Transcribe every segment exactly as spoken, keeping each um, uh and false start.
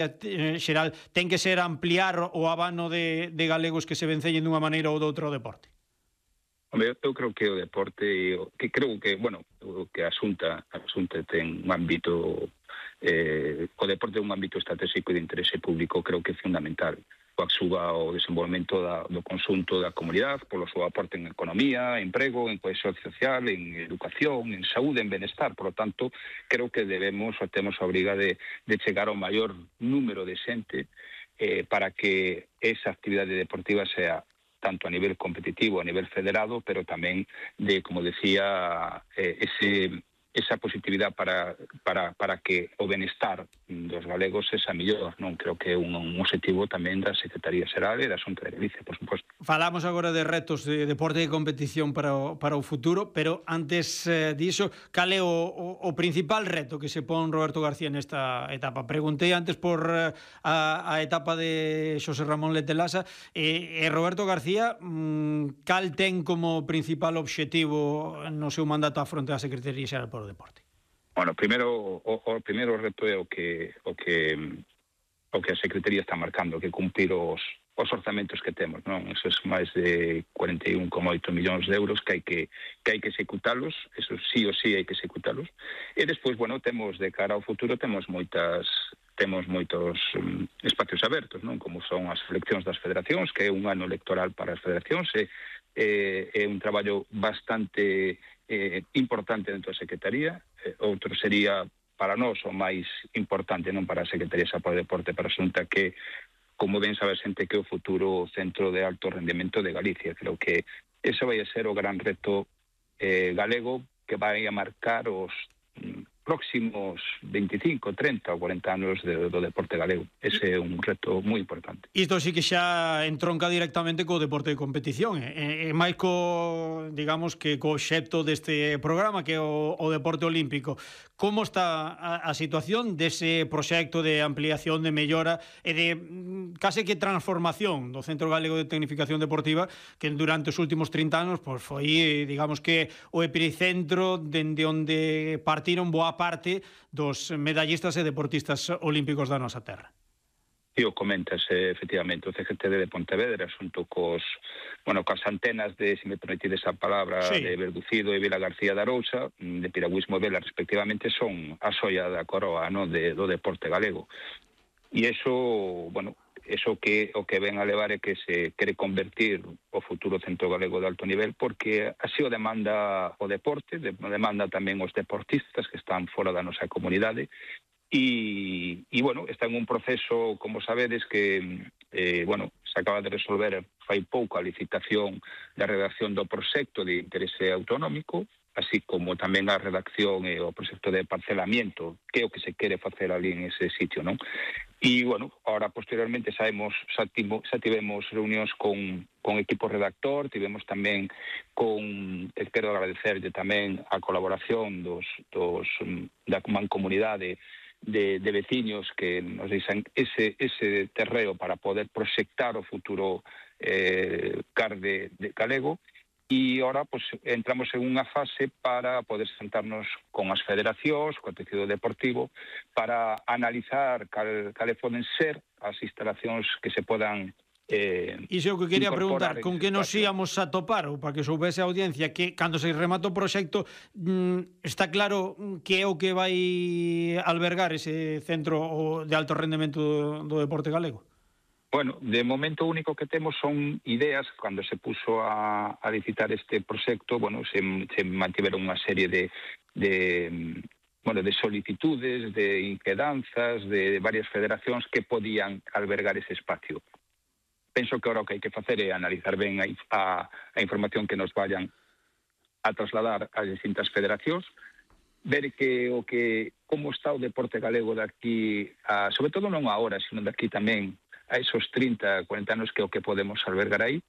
eh, xeral ten que ser ampliar o abano de, de galegos que se vencellen dunha maneira ou doutra o deporte? Hombre, eu creo que o deporte, que creo que, bueno, que a Xunta, a Xunta ten un ámbito, eh, o deporte é un ámbito estratégico de interese público, creo que é fundamental. Coaxuga o desenvolvemento da, do conxunto da comunidade, polo seu aporte en economía, emprego, en cohesión social, en educación, en saúde, en benestar. Por lo tanto, creo que debemos, ou temos a obriga de, de chegar ao maior número de xente eh, para que esa actividade deportiva sea tanto a nivel competitivo, a nivel federado, pero tamén de, como decía, eh, ese... esa positividade para, para, para que o benestar dos galegos esa mellor, non? Creo que é un, un objetivo tamén da Secretaría Xeral e da Xunta de Galicia, por suposto. Falamos agora de retos de deporte e competición para o, para o futuro, pero antes eh, diso, cal é o, o, o principal reto que se pon Roberto García nesta etapa? Preguntei antes por eh, a, a etapa de Xosé Ramón Letelasa e, e Roberto García mmm, cal ten como principal obxectivo no seu mandato á fronte da Secretaría Xeral por o deporte? Bueno, primeiro o, o primeiro reto é o que o que o que a Secretaría está marcando, que cumprir os os orzamentos que temos, non? Esos máis de cuarenta e un coma oito millóns de euros que hai que que hai que executalos, eso sí ou sí hai que executalos. E despois, bueno, temos de cara ao futuro temos moitas temos moitos um, espacios abertos, non? Como son as eleccións das federacións, que é un ano electoral para as federacións, e é, é un traballo bastante eh, importante dentro da Secretaría. Eh, outro sería para nós o máis importante, non para a Secretaría para o Deporte, para a Xunta, que como ben sabe a xente que é o futuro centro de alto rendemento de Galicia. Creo que ese vai a ser o gran reto eh, galego que vai a marcar os mm, próximos veinticinco, treinta ou cuarenta anos de, do deporte galego. Ese é un reto moi importante. Isto sí que xa entronca directamente co deporte de competición, e, e máis co, digamos, que co xepto deste programa, que é o, o deporte olímpico. Como está a, a situación dese proxecto de ampliación, de mellora e de case que transformación do Centro Galego de Tecnificación Deportiva, que durante os últimos trinta anos pois, foi, digamos que, o epicentro dende onde partiron boa parte dos medallistas e deportistas olímpicos da nosa terra? E o comentas, efectivamente, o C G T D de Pontevedra, xunto cos, bueno, cos antenas de, se me permitides a palabra, sí, de Verducido e Vila García da Arousa, de Piragüismo e Vela, respectivamente, son a xoia da coroa, no, de, do deporte galego. E iso, bueno, eso que o que ven a levar é que se quere convertir o futuro Centro Galego de Alto Nivel, porque así o demanda o deporte, demanda tamén os deportistas que están fora da nosa comunidade. E, e bueno, está en un proceso, como sabedes, que eh, bueno, se acaba de resolver fai pouco a licitación da redacción do proxecto de interese autonómico, así como tamén a redacción e o proxecto de parcelamiento, que é o que se quere facer ali en ese sitio, non? E, bueno, ahora posteriormente sabemos, xa, timo, xa tivemos reunións con, con equipo redactor, tivemos tamén con, quero agradecerlle tamén a colaboración dos, dos da mancomunidade de, de veciños que nos deixan ese, ese terreo para poder proxectar o futuro eh, C A R de, de galego. E agora pues, entramos en unha fase para poder sentarnos con as federacións, co tecido deportivo, para analizar cal, cales poden ser as instalacións que se podan eh, Iso é o que quería preguntar, con que nos íamos a topar, ou para que soubese a audiencia, que cando se remata o proxecto mm, está claro que é o que vai albergar ese centro de alto rendemento do, do deporte galego? Bueno, de momento o único que temos son ideas. Cando se puso a, a licitar este proxecto, bueno, se, se mantiveron unha serie de, de, bueno, de solicitudes, de inquedanzas, de varias federacións que podían albergar ese espacio. Penso que ahora o que hai que facer é analizar ben a, a, a información que nos vayan a trasladar ás distintas federacións, ver que o que como está o deporte galego daqui, a, sobre todo non agora, sino daqui tamén a esos trinta, cuarenta anos, que é o que podemos albergar aí.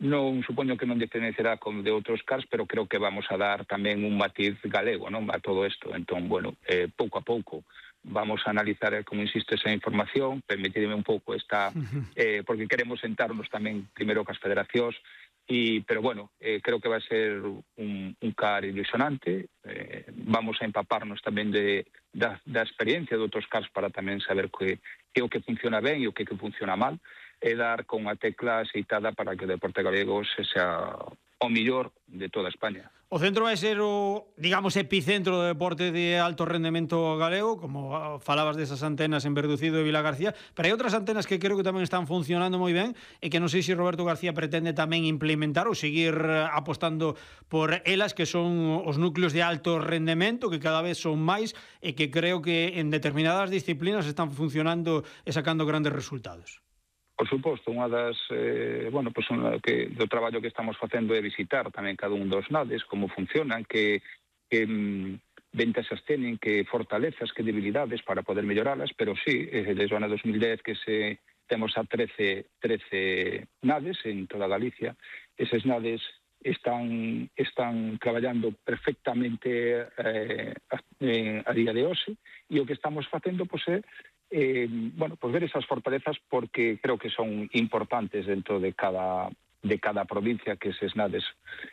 Non supoño que non diferenciará con de outros C A Rs, pero creo que vamos a dar tamén un matiz galego, non, a todo isto. Entón, bueno, eh, pouco a pouco vamos a analizar, como insisto, esa información, permitirme un pouco esta, eh, porque queremos sentarnos tamén primeiro cas federacións, y, pero bueno, eh, creo que vai ser un, un car ilusionante, eh, vamos a empaparnos tamén de, da, da experiencia de outros cars para tamén saber que, que o que funciona ben e o que, que funciona mal, e dar con a tecla aceitada para que o deporte galego se sea o millor de toda España. O centro vai ser o, digamos, epicentro do deporte de alto rendemento galego, como falabas desas antenas en Verducido e Vilagarcía, pero hai outras antenas que creo que tamén están funcionando moi ben e que non sei se Roberto García pretende tamén implementar ou seguir apostando por elas, que son os núcleos de alto rendemento, que cada vez son máis e que creo que en determinadas disciplinas están funcionando e sacando grandes resultados. Por suposto, unha das, eh, bueno, pues unha que do traballo que estamos facendo é visitar tamén cada un dos nades, como funcionan, que, que mm, ventaxas teñen, que fortalezas, que debilidades para poder melloralas, pero sí, eh, desde o ano dos mil dez que se temos a trece nades en toda Galicia. Eses nades están están traballando perfectamente eh, a, eh, a día de hoxe, e o que estamos facendo pois é Eh, bueno, pues ver esas fortalezas, porque creo que son importantes dentro de cada de cada provincia, que eses nades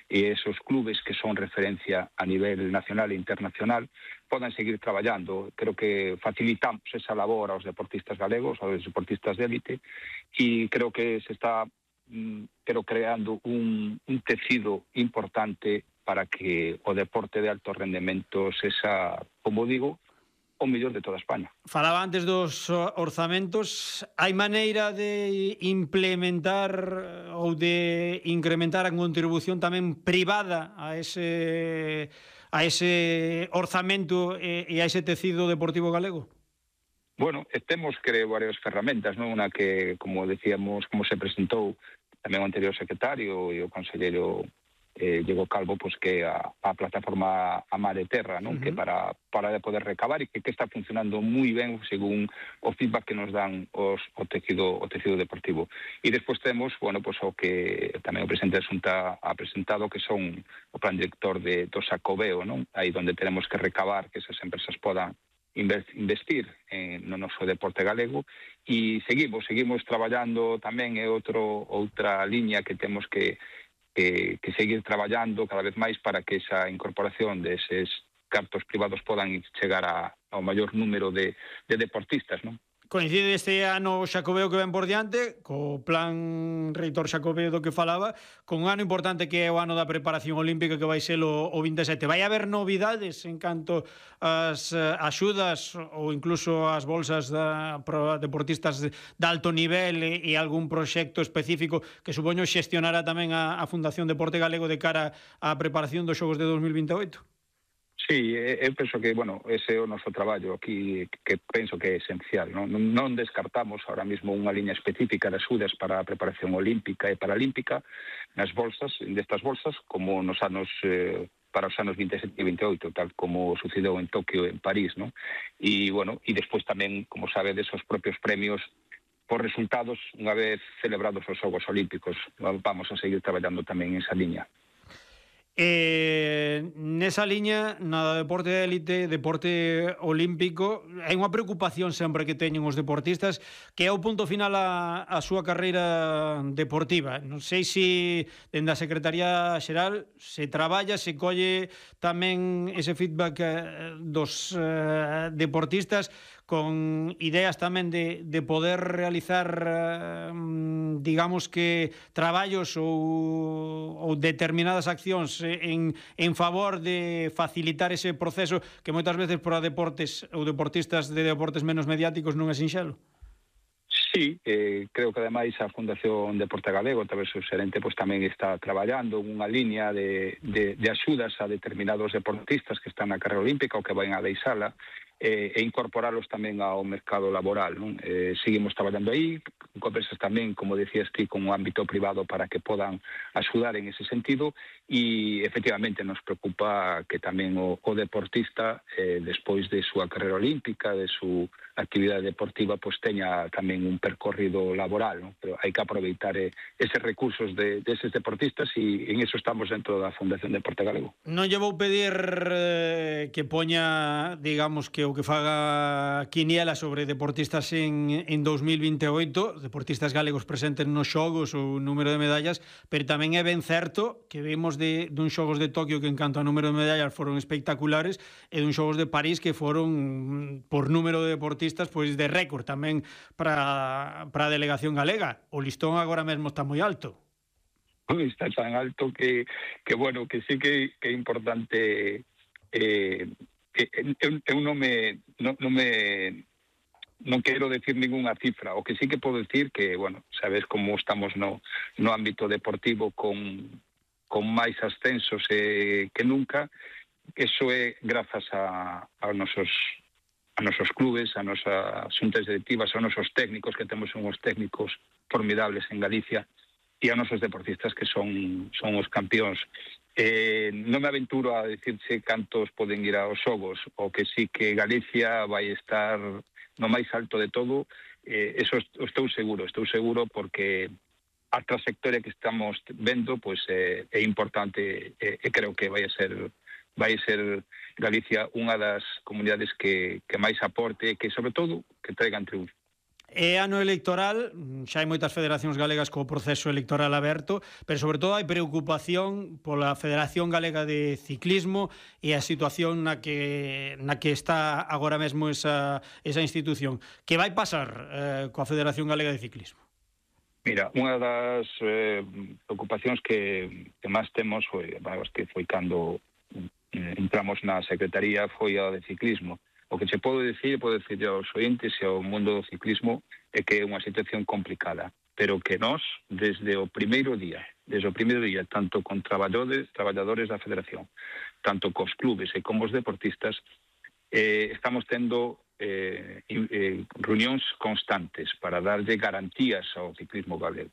e esos clubes que son referencia a nivel nacional e internacional podan seguir traballando. Creo que facilitamos esa labor aos deportistas galegos, aos deportistas de élite, e creo que se está pero creando un, un tecido importante para que o deporte de alto rendemento sexa, como digo, o mellor de toda España. Falaba antes dos orzamentos. Hai maneira de implementar ou de incrementar a contribución tamén privada a ese a ese orzamento e a ese tecido deportivo galego? Bueno, temos, creo, varias ferramentas, non? Unha que, como decíamos, como se presentou tamén o anterior secretario e o conselleiro Eh, Diego Calvo, pues que a, a plataforma A Mar e Terra, non? Uh-huh. Que para, para poder recabar e que, que está funcionando moi ben según o feedback que nos dan os, o tecido o tecido deportivo. E despois temos, bueno, pues o que tamén o presidente da Xunta ha presentado, que son o plan director de, do Xacobeo, non? Aí onde tenemos que recabar, que esas empresas podan investir en, no noso deporte galego, e seguimos, seguimos traballando tamén, é outro, outra liña que temos que Que, que seguir traballando cada vez máis para que esa incorporación deses cartos privados podan chegar a, ao maior número de, de deportistas, non? Coincide este ano Xacobeo que ven por diante, co plan reitor Xacobeo do que falaba, con un ano importante que é o ano da preparación olímpica, que vai ser o, o vinte e sete. Vai haber novidades en canto as axudas ou incluso as bolsas da, para deportistas de, de alto nivel e, e algún proxecto específico que supoño xestionará tamén a, a Fundación Deporte Galego de cara á preparación dos Xogos de dos mil vinte e oito? Sí, eu penso que, bueno, ese é o noso traballo aquí, que penso que é esencial, non? Non descartamos ahora mesmo unha liña específica de axudas para a preparación olímpica e paralímpica nas bolsas, destas bolsas, como nos anos eh, para os anos vinte e sete e vinte e oito, tal como sucedeu en Tokio e en París, non? E, bueno, e despois tamén, como sabedes, os propios premios por resultados unha vez celebrados os Xogos Olímpicos. Vamos a seguir traballando tamén en esa liña. Eh, nesa liña, na deporte de élite, deporte olímpico, hai unha preocupación sempre que teñen os deportistas, que é o punto final a, a súa carreira deportiva. Non sei se dende a Secretaría Xeral se traballa, se colle tamén ese feedback eh, dos eh, deportistas, con ideas tamén de, de poder realizar, eh, digamos que, traballos ou, ou determinadas accións en, en favor de facilitar ese proceso que moitas veces para deportes ou deportistas de deportes menos mediáticos non é sinxelo? Sí, eh, creo que ademais a Fundación Deporte Galego, a través do xerente, pues, tamén está traballando unha liña de, de, de axudas a determinados deportistas que están na carreira olímpica ou que van a deixala, eh, e incorporalos tamén ao mercado laboral, non? Eh, seguimos traballando aí, conversas tamén, como decías ti, con o ámbito privado para que podan axudar en ese sentido, e efectivamente nos preocupa que tamén o, o deportista, eh, despois de súa carreira olímpica, de súa actividade deportiva, pois teña tamén un percorrido laboral, ¿no? Pero hai que aproveitar eh, eses recursos de, de eses deportistas, e en eso estamos dentro da Fundación Deporte Galego. Non lle vou pedir eh, que poña, digamos, que o que faga quiniela sobre deportistas en, en dos mil vinte e oito, deportistas galegos presentes nos xogos ou número de medallas, pero tamén é ben certo que vimos de, dun xogos de Tokio que en canto a número de medallas foron espectaculares, e dun xogos de París que foron, por número de deportistas, pois de récord tamén para, para a delegación galega. O listón agora mesmo está moi alto. Está tan alto que, que bueno, que sí que, que é importante, eh, que eu, eu non me non, non me non quero decir ninguna cifra. O que sí que podo decir que, bueno, sabes como estamos no, no ámbito deportivo con, con máis ascensos eh, que nunca. Eso é grazas a, a nosos a nosos clubes, a nosas xuntas directivas, a nosos técnicos, que temos unhos técnicos formidables en Galicia, e a nosos deportistas que son son os campións. Eh, non me aventuro a decirse cantos poden ir aos xogos, o que sí que Galicia vai estar no máis alto de todo, eh, eso estou seguro, estou seguro porque a trayectoria que estamos vendo pois eh, é importante, e eh, creo que vai a ser vai ser Galicia unha das comunidades que, que máis aporte e que, sobre todo, que traigan triunfo. É ano electoral, xa hai moitas federacións galegas co proceso electoral aberto, pero sobre todo hai preocupación pola Federación Galega de Ciclismo e a situación na que na que está agora mesmo esa, esa institución. Que vai pasar eh, coa Federación Galega de Ciclismo? Mira, unha das eh, preocupacións que, que máis temos foi, bueno, que foi cando eh, entramos na Secretaría, foi a de ciclismo. O que se pode decir, pode decir aos ointes e ao mundo do ciclismo é que é unha situación complicada, pero que nós, desde o primeiro día, desde o primeiro día, tanto con traballadores, traballadores da Federación, tanto cos clubes e como os deportistas, eh, estamos tendo eh, eh, reunións constantes para darlle garantías ao ciclismo galego.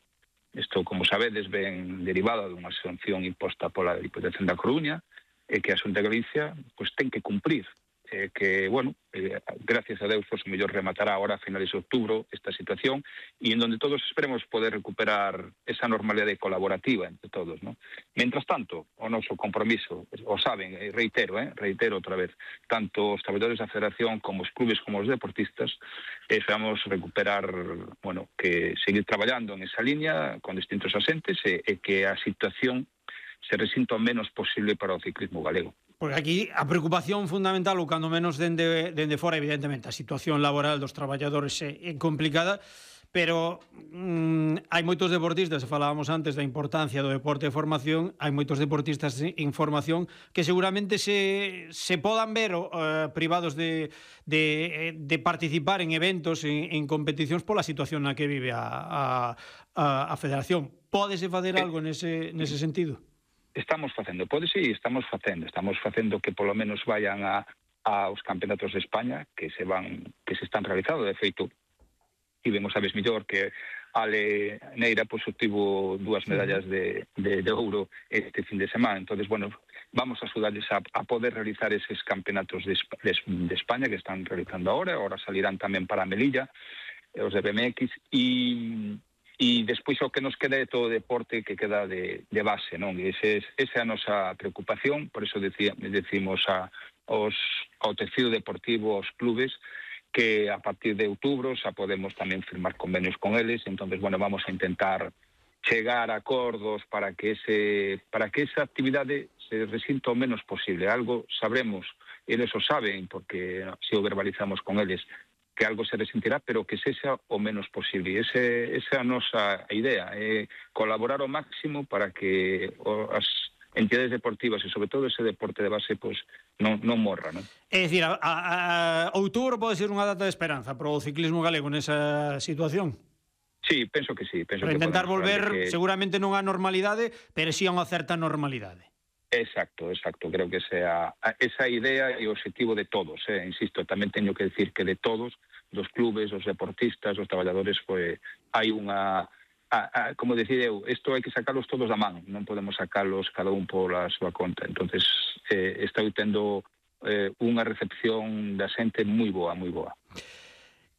Isto, como sabedes, ven derivada dunha sanción imposta pola Diputación da Coruña, e que a Xunta de Galicia pois, ten que cumprir. Eh, que, bueno, eh, gracias a Deus, pues, mellor rematará ahora a finales de outubro esta situación, e en donde todos esperemos poder recuperar esa normalidade colaborativa entre todos, ¿no? Mientras tanto, o noso compromiso, o saben, eh, reitero, eh, reitero outra vez, tanto os traballadores da Federación como os clubes como os deportistas, eh, esperamos recuperar, bueno, que seguir traballando en esa línea con distintos asentes e, e que a situación se resinta o menos posible para o ciclismo galego. Porque aquí a preocupación fundamental, ou cando menos dende, dende fora, evidentemente, a situación laboral dos traballadores é, é complicada, pero mm, hai moitos deportistas, falábamos antes da importancia do deporte de formación, hai moitos deportistas en formación que seguramente se, se podan ver uh, privados de, de, de participar en eventos, en, en competicións pola situación na que vive a, a, a, a federación. Pódese facer algo nese, nese sentido? Estamos facendo, pode sí, estamos facendo, estamos facendo que polo menos vayan a aos campeonatos de España que se van que se están realizando, de feito, e vemos a vez mellor que Ale Neira pois obtivo dúas medallas de, de, de ouro este fin de semana. Entonces, bueno, vamos a axudarles a, a poder realizar eses campeonatos de, de, de España que están realizando ahora, ahora salirán tamén para Melilla, os de B M X, e e despois o que nos queda é todo o deporte que queda de, de base, non? E ese, esa é a nosa preocupación, por eso decía, decimos a, aos, ao tecido deportivo, aos clubes, que a partir de outubro xa podemos tamén firmar convenios con eles, entonces, bueno, vamos a intentar chegar a acordos para que ese para que esa actividade se resinta o menos posible. Algo sabremos, eles o saben, porque se o verbalizamos con eles, que algo se resentirá, pero que sexa o menos posible. Ese, esa é a nosa idea, é colaborar ao máximo para que as entidades deportivas e, sobre todo, ese deporte de base pues, non, non morra, non? É dicir, a, a, a outubro pode ser unha data de esperanza para o ciclismo galego nesa situación? Sí, penso que sí. Penso para que intentar volver, que... seguramente non a normalidade, pero sí a unha certa normalidade. Exacto, exacto. Creo que sea esa idea e o objetivo de todos. Eh. Insisto, tamén teño que decir que de todos, dos clubes, os deportistas, os traballadores, pues, hai unha... A, a, como decir eu, isto hai que sacalos todos da man, non podemos sacalos cada un pola súa conta. Entonces, eh, estou tendo eh, unha recepción da xente moi boa, moi boa.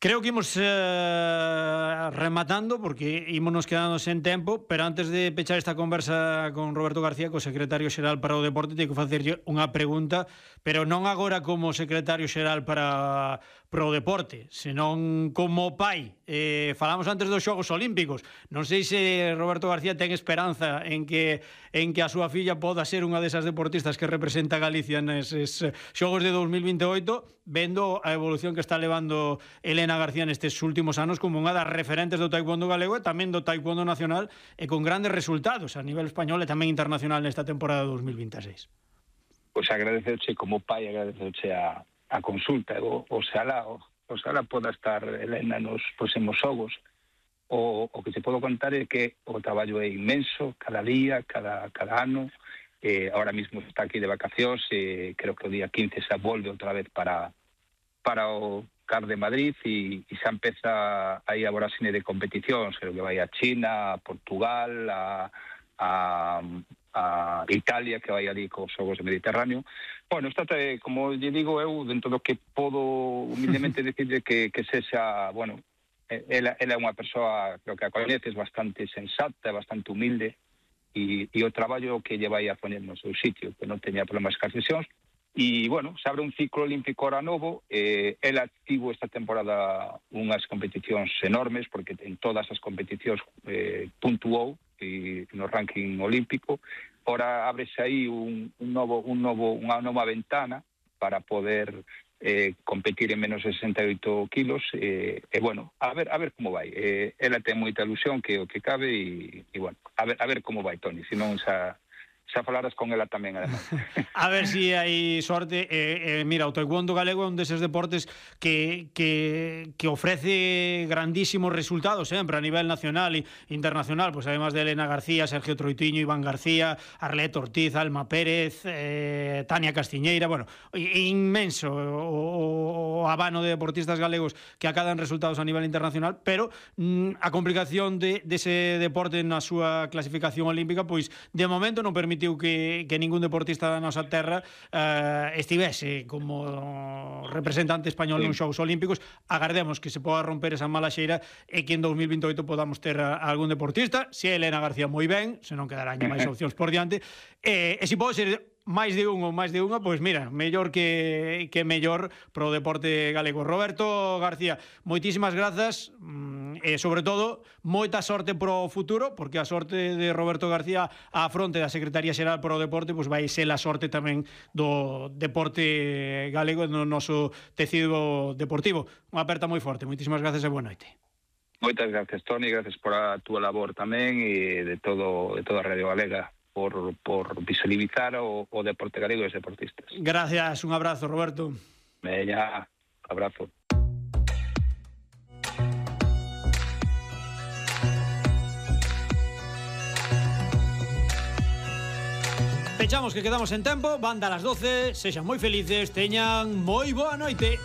Creo que imos eh, rematando, porque ímonos quedando sen tempo, pero antes de pechar esta conversa con Roberto García, co secretario xeral para o deporte, teño que facerlle unha pregunta, pero non agora como secretario xeral para pro deporte, senón como pai. Eh, falamos antes dos Xogos Olímpicos. Non sei se Roberto García ten esperanza en que en que a súa filla poda ser unha desas deportistas que representa a Galicia neses Xogos de dos mil vinte e oito, vendo a evolución que está levando Elena García nestes últimos anos como unha das referentes do taekwondo galego e tamén do taekwondo nacional, e con grandes resultados a nivel español e tamén internacional nesta temporada dos mil vinte e seis. Pois agradecerche como pai, agradecerche a a consulta, o, oxalá, o, oxalá poda estar Elena nos próximos xogos. O, o que te podo contar é que o traballo é inmenso, cada día, cada, cada ano. Eh, ahora mismo está aquí de vacacións, e creo que o día quince xa volve outra vez para, para o C A R de Madrid, e, e xa empeza aí a voráxine de competicións, creo que vai a China, a Portugal, a, a, a Italia, que vai ali cos xogos do Mediterráneo. Bueno, está, como lle digo eu, dentro do que podo humildemente decirle que, que sexa, bueno, ela, ela é unha persoa, creo que a coñeces, bastante sensata, bastante humilde, e, e o traballo que lle vai a poner no seu sitio, que non teña problemas cas lesións. E, bueno, se abre un ciclo olímpico ahora novo. Eh, ela tivo esta temporada unhas competicións enormes, porque en todas as competicións eh, puntuou e no ranking olímpico. Ora ábrese aí un, un novo, un novo, unha nova ventana para poder eh, competir en menos de sesenta e oito kilos. E, eh, bueno, a ver, a ver como vai. Eh, ela ten moita ilusión que o que cabe, e, e bueno, a ver, a ver como vai, Toni, senón xa... xa falaras con ela tamén, además. A ver se si hai sorte. Eh, eh, mira, o taekwondo galego é un deses deportes que, que, que ofrece grandísimos resultados sempre a nivel nacional e internacional, pues además de Elena García, Sergio Troitiño, Iván García, Arlet Ortiz, Alma Pérez, eh, Tania Castiñeira, bueno, inmenso o, o abano de deportistas galegos que acadan resultados a nivel internacional, pero mm, a complicación de, dese deporte na súa clasificación olímpica, pois de momento non permite que, que ningún deportista da nosa terra eh, estivese como representante español sí. nos Xogos Olímpicos. Agardemos que se poda romper esa mala xeira e que en dos mil vinte e oito podamos ter a, a algún deportista. Se é Elena García, moi ben, se non quedarán máis opcións por diante. E, e se pode ser máis de un ou máis de unha, pois mira, mellor que, que mellor pro deporte galego. Roberto García, moitísimas grazas, e sobre todo, moita sorte pro futuro, porque a sorte de Roberto García á fronte da Secretaría Xeral pro Deporte, pois vai ser a sorte tamén do deporte galego no noso tecido deportivo. Unha aperta moi forte. Moitísimas grazas e boa noite. Moitas gracias, Toni, gracias por a túa labor tamén, e de todo de toda a Radio Galega, por, por visualizar o, o deporte galego e os deportistas. Gracias, un abrazo, Roberto. Veña, abrazo. Pechamos, que quedamos en tempo, van dar as doce, sexan moi felices, teñan moi boa noite.